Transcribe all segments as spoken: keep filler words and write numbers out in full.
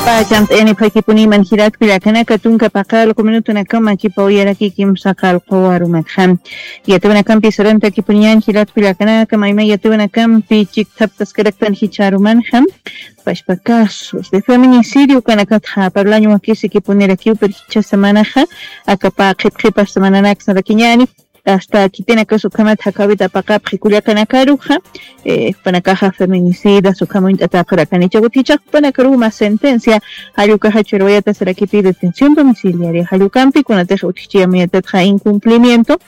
Pachamt'ayani phaykipuniman jilat kullakanaka, tunka paqallqu minutunakama kipaw yarakiki kimsa qallqu warumatxa. Yatiwanakampi sarantakipuniñan jilat kullakanaka, mayma yatiwanakampi chikthaptaskaraktan jichharumanxa. Pashpa casos de feminicidio ukanakatxa parlaña wakisikipunirakiw, pero jichha semanaxa akapa qhipqhipas semananaksa rakiñani. Hasta kitinakax ukhamat jakawita paqapxi kullakanakaruxa, eh, jupanakaxa feminicidas ukham uñt'atapxarakani. Chawit jichhax jupanakaruw mä sentencia jall ukaxa churwayata sarakipï detención domiciliaria jall ukampi, kunatix utjchi amuyatatxa incumplimiento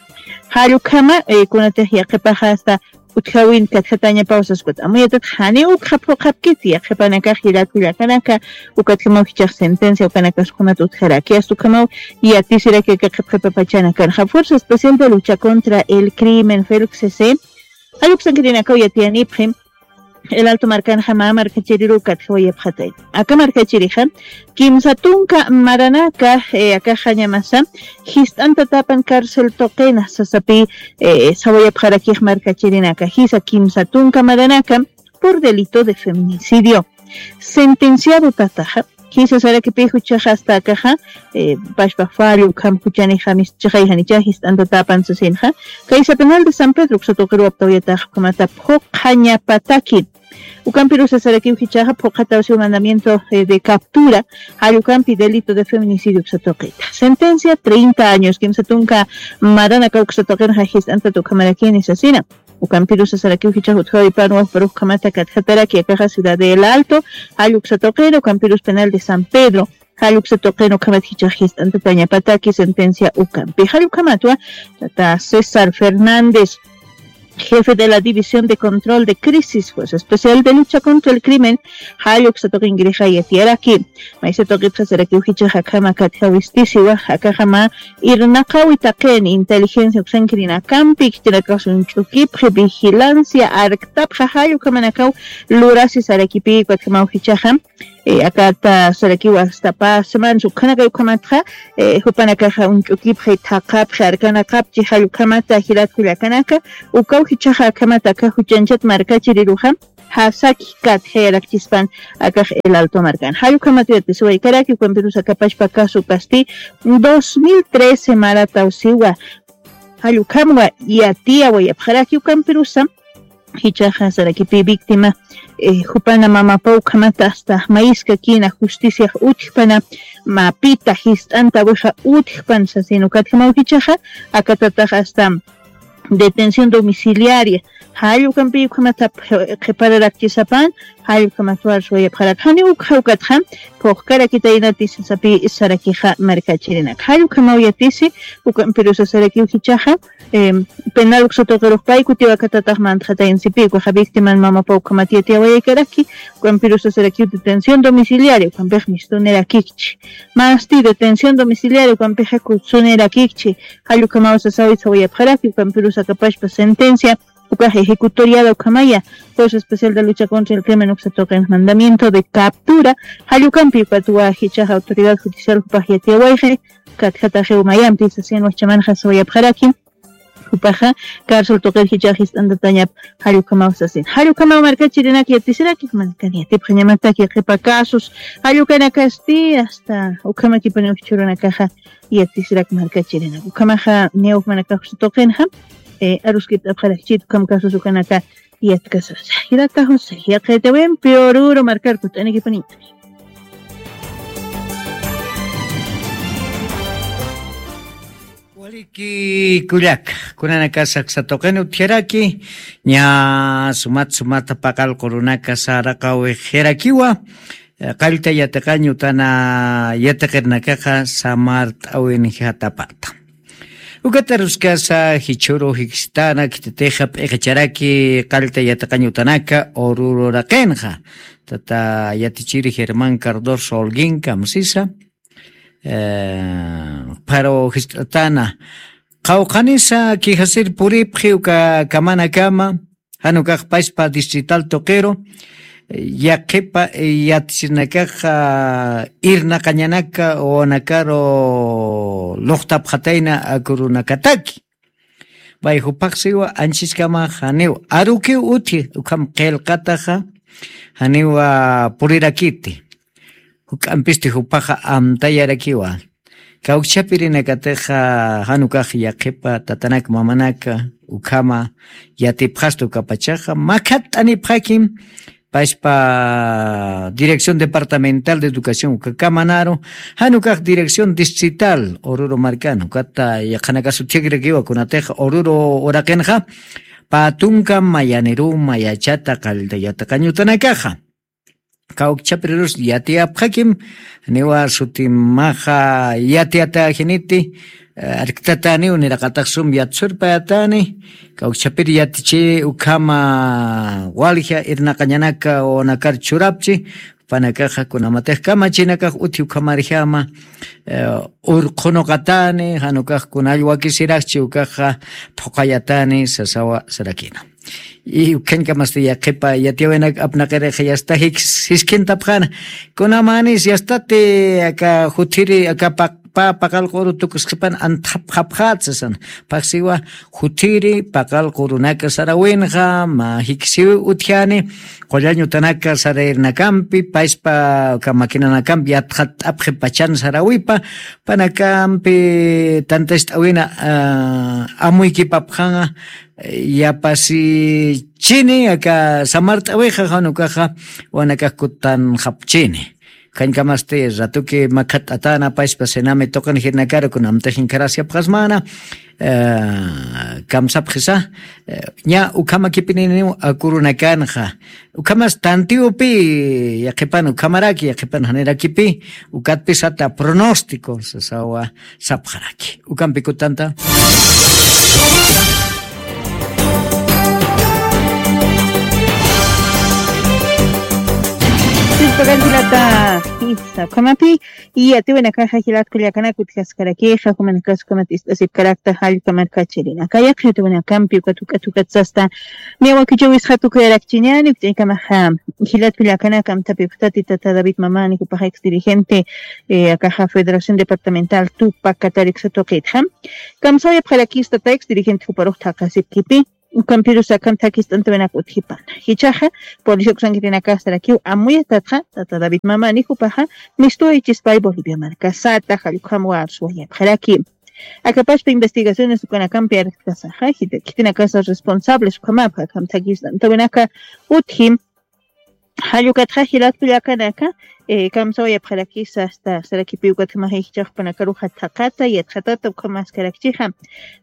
jall ukhama, eh, kunatix yaqhipaxa hasta utjawin katjatañapaw saskuta. Amuyatatxa janiw ukxa phuqhapkiti, yaqhipanakax jilat kullakanaka, ukatjamaw jichhax sentencia ukanakax ukhamat utjaraki, hasta ukhamaw yatisiraki aka qhipqhipa pachanakanxa. Fuerza Especial de Lucha contra el Crimen, FELCC, jall uksankirinakaw yatiyanipxi, El Alto markanxa mä markachiriruw katjawayapxatay. Aka markachirixa kimsa tunka maranaka, eh, akaxa ñamasa jist'antatapan cárcel tuqina sasapï, eh, sawayapxarakix markachirinaka. Jisa kimsa tunka maranaka por delito de feminicidio sentenciado tataxa. Jisa sarakipï juchaxa hasta akaxa, eh, pashpa fallo ukham juchanixa mischixay janicha jist'antatapan sasinxa. Kaysa penal de San Pedro uksa tuqiruw aptawayatax ukhamata phuqhañapataki. Ukampirusa sarakiw jichhaxa phuqhatawsiw mandamiento, eh, de captura, jall ukampi delito de feminicidio uksa tuqita. Sentencia treinta años, kimsa tunka maranaka uksa tuqinxa jist'antat ukhamarakini sasina. Ukampirusa sarakiw jichhax utjawipan wajparux ukhamata katjataraki akaxa Ciudad de El Alto, jall uksa tuqin, ukampirus penal de San Pedro, jall uksa tuqin ukhamat jichhax jist'antatañapataki sentencia ukampi. Jall ukhamatwa tata César Fernández, jefe de la División de Control de Crisis, Fuerza Especial de Lucha contra el Crimen, jall uksa tuqinkirixa yatiyaraki. Maysa tuqitxa sarakiw jichhax akhama katjawistisiwa, akaxa mä irnaqawi taqin inteligencia uksankirinakampi, khitinakax uñch'ukipxi, vigilancia arktapxa, jall ukhamanakaw lurasi sarakipï, ukatjamaw jichhaxa, eh, akata sarakiw hasta pä semanas ukhanakay ukhamatxa, eh, jupanakaxa uñch'ukipxi, thaqhapxi, arkanaqapchi, jall ukhamata jilat kullakanaka, ukaw jichhaxa akhamata aka juchañchat markachiriruxa jasaki katjayarakchispan akax El Alto markan. Jall ukhamat yatisiwaykaraki, ukampirus aka pashpa caso ukasti dos mil trece maratawsiwa. Jall ukhamwa yatiyawayapxaraki, ukampirusa jichhaxa sarakipï víctima, eh, jupana mamapaw ukhamata hasta mayiskakina justiciax utjpana, mapita jist'antawixa utjpan sasin, ukatjamaw jichhaxa akatatax hasta detención domiciliaria jall ukampi ukhamata qhipararakchisapan, jall ukhamat warsuwayapxarak. Janiw ukxa ukatxa phuqkarakitaynati sasapï sarakixa markachirinak. Jall ukhamaw yatisi, ukampirusa sarakiw jichhaxa, em, penal uksa tuqirux pay kutiw akatatax mantxatayansipï, ukaxa víctiman mamapaw ukhamat yatiyawayaykaraki, ukampirusa sarakiw detención domiciliaria, ukampix mistunirakikchi. Masti detención domiciliaria, ukampixa kutsunirakikchi. Jall ukhamaw sasawi sawayapxaraki, ukampirus aka pashpa sentencia ukax ejecutoriada ukhamaya, Fuerza Especial de Lucha contra el Crimen uksa tuqin mandamiento de captura, jall ukampi ukatwa jichhax autoridad judicial jupax yatiyawayxi, katjataxiw mayampi sasin, wajchamanxa sawayapxaraki, jupaxa cárcel tuqir jichhax jist'antatañap, jall ukhamaw sasin. Jall ukhamaw markachirinak yatisiraki, jumanakani yatipxañamataki qhipa casos jall ukanakasti, hasta ukhamakipuniw jichhürunakaxa yatisirak markachirinak. Ukhamaxa niyaw jumanakax uksa tuqinxa, eh, aruskipt'apxarakchit ukham casos ukanaka yatkasasa. Jilata José, yaqhitawimpi Oruro markar kut'anikipuniña. Waliki kullaka, kunanakasa uksa tuqin utjaraki, ña sumat sumata paqallqu runaka saraqawixirakiwa, eh, qallta yatiqañ utana yatiqirnakaxa samart'awinjatapata. Ukat aruskasa jichhüru jiksitana khititixa p'iqicharaki qallta yatiqañ utanaka Oruro uraqinxa. Tata yatichiri Germán Cardoso Holguín kamsisa, eh, pharu jist'atana. Qawqhanisa quejasir puripxi uka kamanakama, jan ukax pachpa distrital tuqiru, yaqhipa, eh, yatichirinakaxa irnaqañanaka wawanakaru luqtapxatayna akurunakataki. Pay jupax siwa anchiskama janiw arukiw utji, ukham qillqataxa janiwa purirakiti. juk'ampisti jupaxa amtayarakiwa. Kawkchapirinakatixa jan ukax yaqhipa tatanak mamanaka ukhama yatipxasta ukapachaxa makhat'anipxakim paspa Dirección Departamental de Educación ukakamanaru, jan ukax Dirección Distrital Oruro markan ukata yaqhanakasu thikrakiwa kunatixa Oruro uraqinxa pä tunka mayaniruma yachata qallta yatiqañutanakaxa. Kawkchapirirus yatiyapxakim niwa sutimaxa yatiyatäjiniti, arktataniw niraqatax sum yatsurpayatani. Kawkchapir yatichi ukhama walja irnaqañanaka wawanakar churapchi jupanakaxa kunamatix kamachinakax uthi ukhamarjama urqhunuqatani jan ukax kunall wakisiraxchi ukaxa phuqayatani sasawa sarakina. Y ukhañkamasti yaqhipa yatiyäwinak apnaqirixa yasta jikis jiskhintapxana kunamanis yastati aka juthiri aka paqpa paqal q'uru tukusqipan antxapxapxat sasana. Phaxsiwa juthiri paqal q'urunaka sarawinxa mä jikisiwi utjani qullañutanaka sarayirinakampi paspa aka maquinanakampi yatxat'apxi pachan sarawipa panakampi tantast'awina amuykipapxanxa. Yapasichini aka samart'awixa jan ukaxa wanakax kutanxapchini. Khañkamasti ratuki makhat'atana paspa senami tuqin jirnakaru kunamtix inkharasyapxasmana. Kamsapxisa ña ukhamakipininiw akurunakanxa ukhamas tantiwpi yaqhipan ukhamaraki yaqhipan janirakipi ukatpisata pronóstico sasawa sapxaraki ukampi kutanta. Ukamapi y atiwinakaxa jilat kullakanaka utjaskarakixa jumanakas ukamat ist'asipkarakta jallka markachirinaka yaqhi atiwinakampi ukat ukat ukat sasta. Niwakichawisxa tukuyarakchiñani ukch'aykamaxa jilat kullakanaka amtapipxtati tata David Mamani jupaxa ex dirigente akaxa Federación Departamental Tupac Catarixa tuqitxa. Kamsawayapxarakista tayks dirigente juparux thaqasipkipi ukampirus akan thakist'antawinak utjipana jichhaxa policía uksankirinakastarakiw amuyatatxa tata David Mamani jupaxa mistuwayichispay Bolivia markasata jallkham warsuwayapxaraki. Akapaspa investigaciones ukanakampi arktkasaxa khitinakasa responsables ukhamapxa akham thakist'antawinaka utji. Jallukatxa jilat kullakanaka kamsawayapxarakisa asta sarakipi ukatjamaxa ijchaxpanakaruxa thaqata yatxatata ukhamaskarakchixa.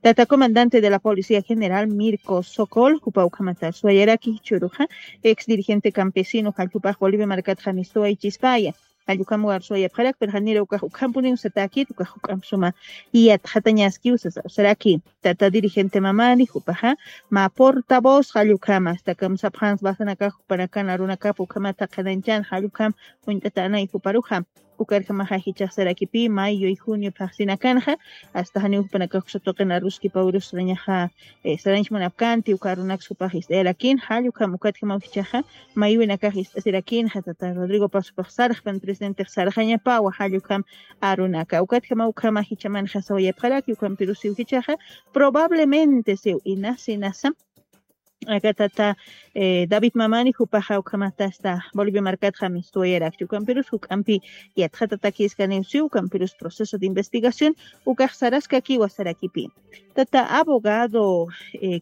Tata comandante de la policía general Mirko Sokol jupa ukhamatar suwayaraki jichhuruxa ex dirigente campesino jalljupax Bolivia markatxa mistuwaychispaya. Jallukam warsuwayapxarak pero janira ukax ukhampuniw satäkit ukax juk'amp suma yatxatañaskiw sasa usaraki. Tata dirigente Mamani jupaxa mä portavoz jallukama asta kamsapxans basanakax jupanakan arunakap ukhamat thaqhanañchan jallukam uñt'atanay juparuxa. Ukarjamaxa jichhax sarakipi mayo y junio phaxsinakanxa asta janiw jupanakax uksatuqin aruskipawirus sarañaxa sarañchmanapkanti uka arunaks jupax ist'ayarakin jallukam ukatjamaw jichhaxa. Maywinakax ist'asirakinxa tata Rodrigo Pasopax sarxpan presidentex sarxañapawa jallukam arunaka ukatjama ukhama jichhamanxa sawayapxaraki ukampirusiw jichhaxa. Probablemente siw inasa inasa aka tata David Mamani jupaxa ukhamatasta Bolivia markatxa mistuwayarakchi ukampirus juk'ampi yatxatatakiskaniw siw ukampirus proceso de investigación ukax saraskakiwa sarakipi. Tata abogado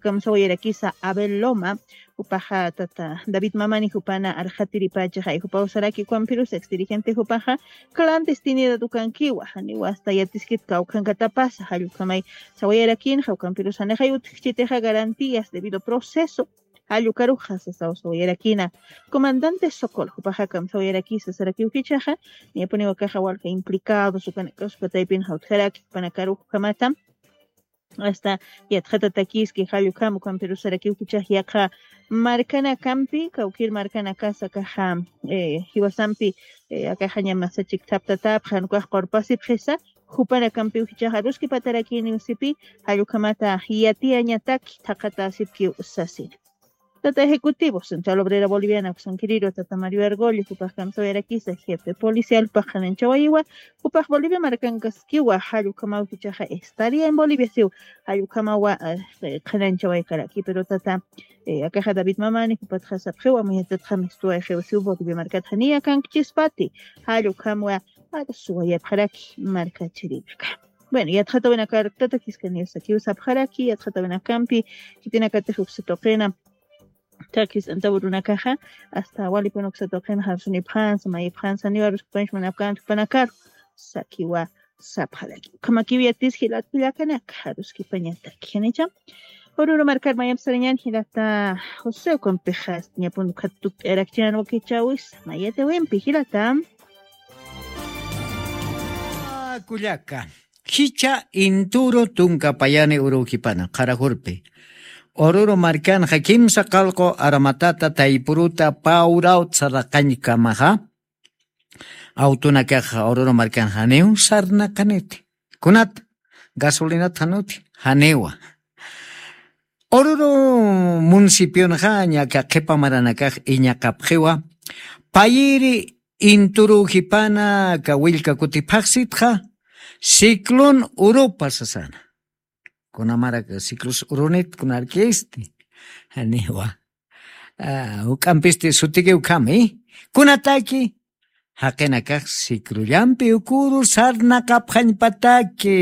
kamsawayarakisa Abel Loma jupaxa tata David Mamani jupana arxatiripachaxay jupaw saraki ukampirus ex dirigente jupaxa clandestinidad ukankiwa janiwa asta yatiskit kawkhankatapasa jallukhamay sawayarakinxa ukampirus janixay utjkchitixa garantías debido proceso jallukaruxa sasaw sawayarakina. Comandante Sokol jupaxa kamsawayarakisa sarakiw jichhaxa. Niyapuniw akaxa walja implicados ukanakax ukataypinxa utjaraki jupanakaruxa ukhamata asta yatxatatakiski jallukam ukampirus sarakiw jichhax yaqha markanakampi kawkir markanakasa akaxa jiwasampi akaxaña masachik thaptatapxan ukax qurpasipxisa. Jupanakampiw jichhax aruskipatarakiniw sipi jallukhamata yatiyañataki thaqhatäsipkiw sasina. Tata ejecutivo Central Obrera Boliviana uksankiriru tata Mario Argollo jupax kamsawayarakisa, jefe policial paxananchawayiwa, jupax Bolivia markankaskiwa, jall ukhamaw jichaxa estaría en Bolivia siw, jall ukhamawa qhananchawaykaraki, pero tata akaxa David Mamani jupatxa sapxiwa, muyatatxa mistuwayxiw siw Bolivia markatxa niya kankchispati, jall ukhamwa arsuwayapxaraki markachirinaka. Bueno, yatxatawinakar tata Kiskaniw sakiw sapxaraki, yatxatawinakampi khitinakatix uksa tuqina takis antaw runakaxa, hasta walipun uksa tuqina jarsunipxansa mayipxansa niwa ruskipanch munapkänti jupanakaru sakiwa sapxaraki. Ukhamakiw yatis jilat kullakanaka, jaruskipañataki janicha. Ururu markar mayamp sarañan jilata José, ukampixa ñapun ukhata tukt'ayarakchinan wakichäwisa mayatawimpi jilata. Kullaka, jichha Inturu tunka payani urukipana qharajurpi. Ururu markanxa kimsa qalqu armatata taypuruta pawrawt saraqañkamaxa, awtunakaxa Ururu markanxa niw sarnaqaniti. Kunat gasolinat januti, janiwa. Ururu municipionxa ñaka qhipa maranakax iñaqapxiwa, payiri Inturu jipana aka willka kutiphaxsitxa, ciclón Urupa sasana. Kunamarak ciclos urunit kunarkisti. Janiwa. Juk'ampisti sutiki ukhami. Kunataki jaqinakax ciclollampi ukuru sarnaqapxañpataki.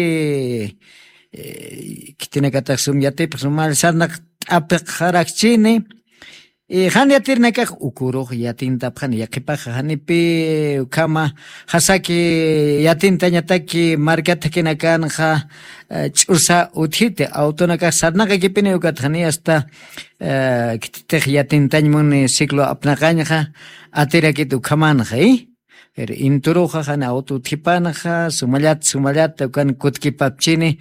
Khitinakatax sum yatipx sumal sarnaqt'apxarakchini. Jan yatirinakax ukurux yatintapxani, yaqhipaxa janipi ukhama jasaki yatintañataki markat thakinakanxa ch'usa utjiti, awtunakax sarnaqakipini, ukat jani asta khititix yatintañ muni ciclo apnaqañxa atirakit ukhamanxa. Pero Inturuxa jani awtu utjipanxa sumallat sumallat ukan kutkipapchini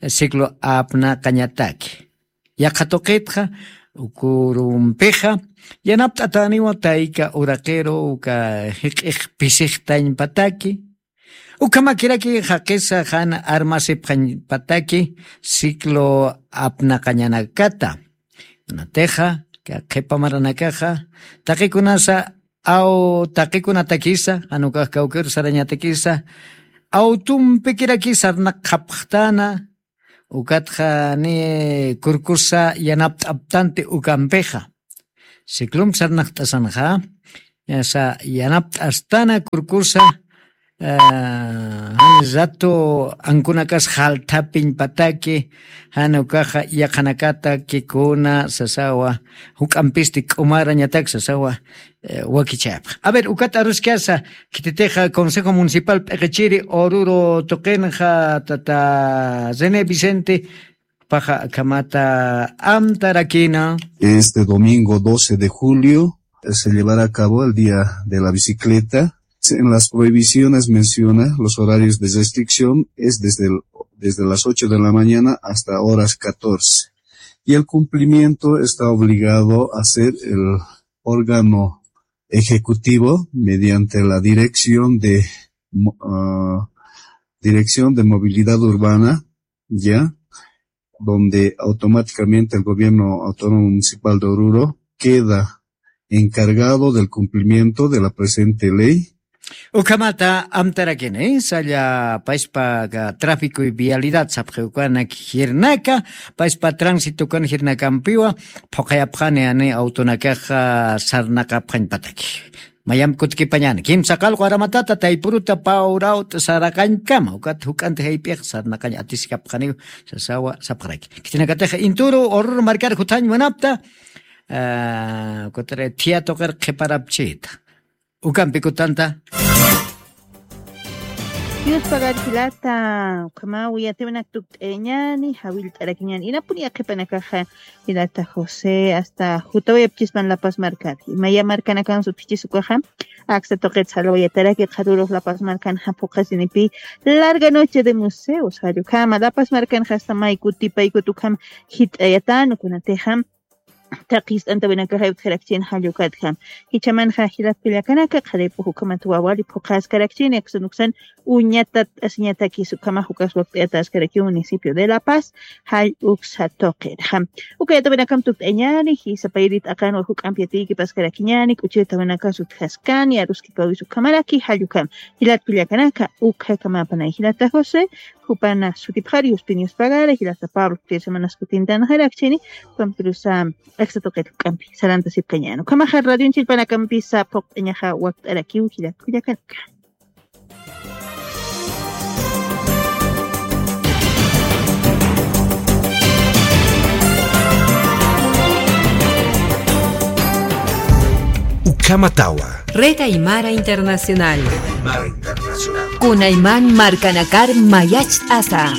ciclo apnaqañataki. Yaqha tuqitxa ukurumpixa yanapt'atäniwa tayka uraqiru uka jiq'ix pisixtañpataki. Ukhamakiraki jaqisa jan armasipxañpataki ciclo apnaqañanakata. Natixa qhipa maranakaxa taqikunasa aw taqikunatakisa jan ukax kawkiru sarañatakisa awtumpikiraki sarnaqxapxtana. Ukatxa ni kurkusa yanapt'aptanti ukampixa. Ciclompi sarnaqt'asanxa, ñasa yanapt'astana kurkusa, jan rato ankunakas jalthapiñpataki, jan ukaxa yaqhanakata kikuna sasawa, juk'ampisti k'umarañatak sasawa, wakichayapxa. A ver, ukat aruskasa, khititixa Consejo Municipal p'iqichiri Oruro tuqinxa tata René Vicente, paxa akhamata amtarakina. Este domingo doce de julio, eh, se llevará a cabo el Día de la Bicicleta. En las prohibiciones menciona los horarios de restricción es desde el, desde las ocho de la mañana hasta horas catorce. Y el cumplimiento está obligado a ser el órgano ejecutivo mediante la dirección de mo-, ah, dirección de movilidad urbana, ya, donde automáticamente el gobierno autónomo municipal de Oruro queda encargado del cumplimiento de la presente ley. Ukhamata amtarakini, salla paispa tráfico y vialidad sapxiwkanak jirnaka, paispa tránsito kan jirnakampiwa, phuqayapxani ani autonakaxa sarnaqapxañpataki. Mayampi kutkipañani, kimsa qalqu aramatata taypuruta pawrawt saraqañkama, ukat juk'anti jayp'iq sarnaqañ atiskapxaniw sasawa sapxaraki. Khitinakatixa Inturu Oruro markar juthañ munapta, ah, ukatari thiyatuqir qhiparapchita. Ukampi kutanta. Dios pagar jilata, ukhamaw yatiwinak tukt'ayañani, jawillt'arakiñani. Inapuni yaqhipanakaxa jilata José, hasta jutawayapchispan La Paz markari. Maya markanakan sutjichis ukaxa, aksa tuqit salwayataraki qharurux La Paz markan japhuqasinipi, larga noche de museos, jall ukhama La Paz markan hasta may kutipaykut ukham jit'ayatan, kunatixa Taqist'antawinakaxa utjarakchini jall ukatjam. Jichhamanxa jilat kullakanaka, qharip'ux ukhamat wawali phuqhaskarakchini, aksan uksan uñatat asiñatakis ukhamax ukas wakt'ayataskarakiw municipio de La Paz, jall uksa tuqirjam. Ukayatawinakam tukt'añani, jisa payrit aqan wal juk'amp yatiykipaskaraki ñani, k'uchitawinakas utjaskani, aruskipawis ukhamaraki, jall ukham. Jilat kullakanaka, ukhakamapanay jilata José, jupana sutipxar yuspin yuspagara, jilata Pablo, tres semanas kutintanxarakchini, pampirusa, aksa tuqit juk'ampi, sarantasipkañäni. Ukhamaxa radion chillpanakampisa phuqt'añaxa wakt'arakiw jilat kullakanaka. Ukhamatawa. Red Aymara Internacional. Aymara Internacional. Kunayman markanakar mayacht'asa.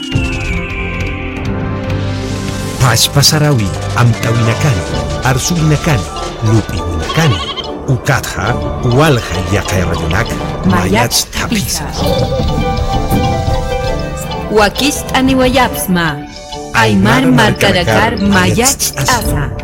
Pachpa sarawi amtawinakani, arsuwinakani, lup'iwinakani. Ukatxa, walja yaqay radionak mayacht'apisa. Wakicht'aniwayapxsma. Aymar markanakar mayacht'asa.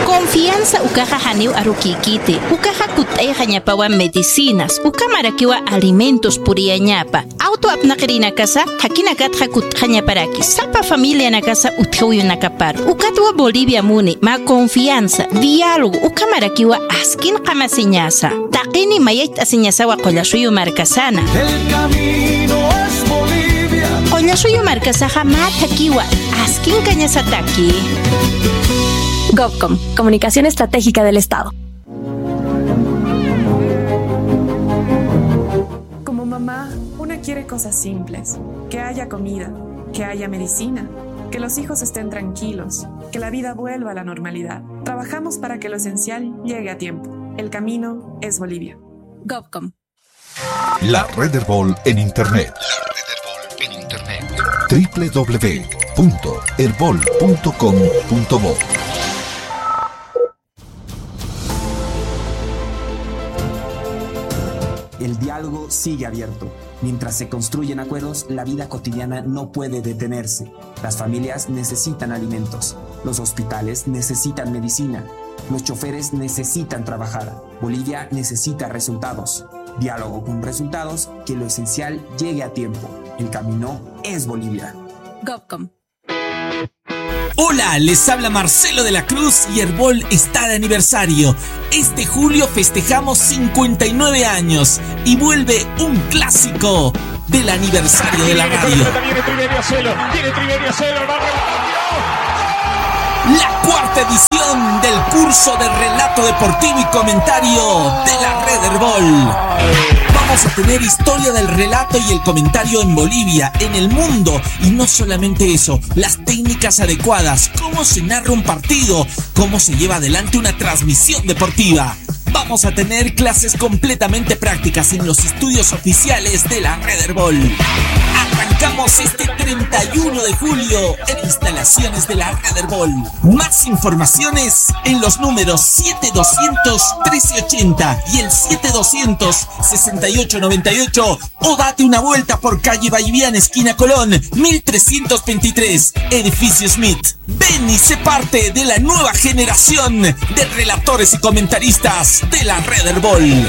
Confianza ukaxa janiw arukïkiti, ukaxa kutt'ayxañapawa medicinas, ukhamarakiwa alimentos puriyañapa, auto apnaqirinakasa, jakinakatxa kutt'xañaparaki, sapa familianakasa utjawinakapar, ukatwa Bolivia muni, mä confianza, diálogo, ukhamarakiwa askin qamasiñasa. Taqini mayacht'asiñasawa Qullasuyu markasana. El camino es Bolivia. Qullasuyu markasaxa mä thakiwa, askin kañasataki. Gobcom, Comunicación Estratégica del Estado. Como mamá, una quiere cosas simples, que haya comida, que haya medicina, que los hijos estén tranquilos, que la vida vuelva a la normalidad. Trabajamos para que lo esencial llegue a tiempo. El camino es Bolivia. Gobcom. La Red Erbol en Internet. La Red Erbol en Internet. W W W punto erbol punto com punto bo. El diálogo sigue abierto. Mientras se construyen acuerdos, la vida cotidiana no puede detenerse. Las familias necesitan alimentos. Los hospitales necesitan medicina. Los choferes necesitan trabajar. Bolivia necesita resultados. Diálogo con resultados, que lo esencial llegue a tiempo. El camino es Bolivia. Gobcom. Hola, les habla Marcelo de la Cruz y Erbol está de aniversario. Este julio festejamos cincuenta y nueve años y vuelve un clásico del aniversario de la radio. La cuarta edición del curso de relato deportivo y comentario de la Red Erbol. Vamos a tener historia del relato y el comentario en Bolivia, en el mundo, y no solamente eso, las técnicas adecuadas, cómo se narra un partido, cómo se lleva adelante una transmisión deportiva. Vamos a tener clases completamente prácticas en los estudios oficiales de la Red Erbol. Arrancamos este treinta y uno de julio en instalaciones de la Red Erbol. Más informaciones en los números siete doscientos trece ochenta y el siete doscientos sesenta y ocho noventa y ocho, o date una vuelta por calle Ballivián, esquina Colón, mil trescientos veintitrés, edificio Smith. Ven y sé parte de la nueva generación de relatores y comentaristas de la Red Erbol.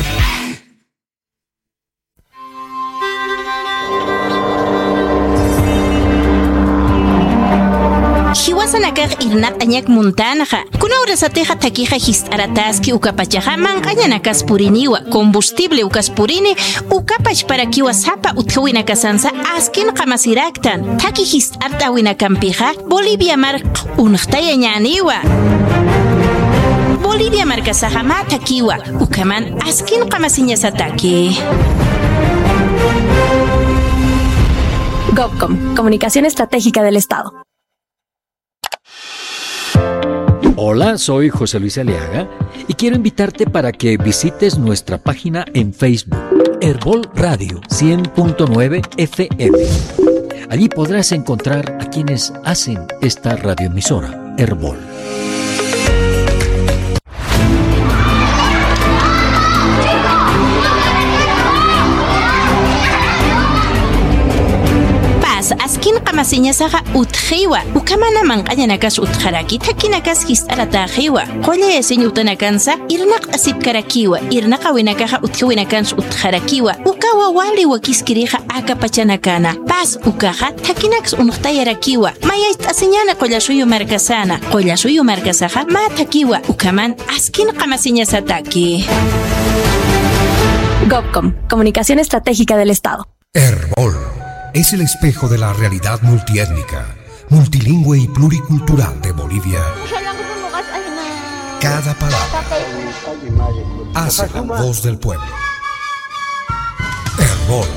Jiwasanakax irnaq'añak muntanxa, kuna urasatixa thakixa jist'arataski, ukapachaxa manq'añanakas puriniwa, combustible ukas purini, ukapachparakiwa sapa utjawinakasansa askin qamasiraktan. Thaki jist'art'äwinakampixa Bolivia mark unxtayañäniwa. Bolivia markasaxa mä thakiwa, ukhaman askin qamasiñasataki. Gobcom, Comunicación Estratégica del Estado. Hola, soy José Luis Aliaga y quiero invitarte para que visites nuestra página en Facebook, Erbol Radio cien punto nueve F M. Allí podrás encontrar a quienes hacen esta radioemisora, Erbol. Siñasaxa utjiwa, ukhamana manq'añanakas utjaraki, thakinakas jist'aratäxiwa. Qullay asiñ utanakansa irnaq'asipkarakiwa, irnaqawinakaxa utjiwinakansa utjarakiwa. Ukawa wali wakiskirixa aka pachanakana. Paz ukaxa thakinaks unxtayarakiwa. Mayacht'asiñäni Qullasuyu markasäna. Qullasuyu markasaxa mä thakiwa, ukhaman askin qamasiñasataki. Gobcom, Comunicación Estratégica del Estado. Erbol es el espejo de la realidad multiétnica, multilingüe y pluricultural de Bolivia. Cada palabra hace la voz del pueblo. Erbol,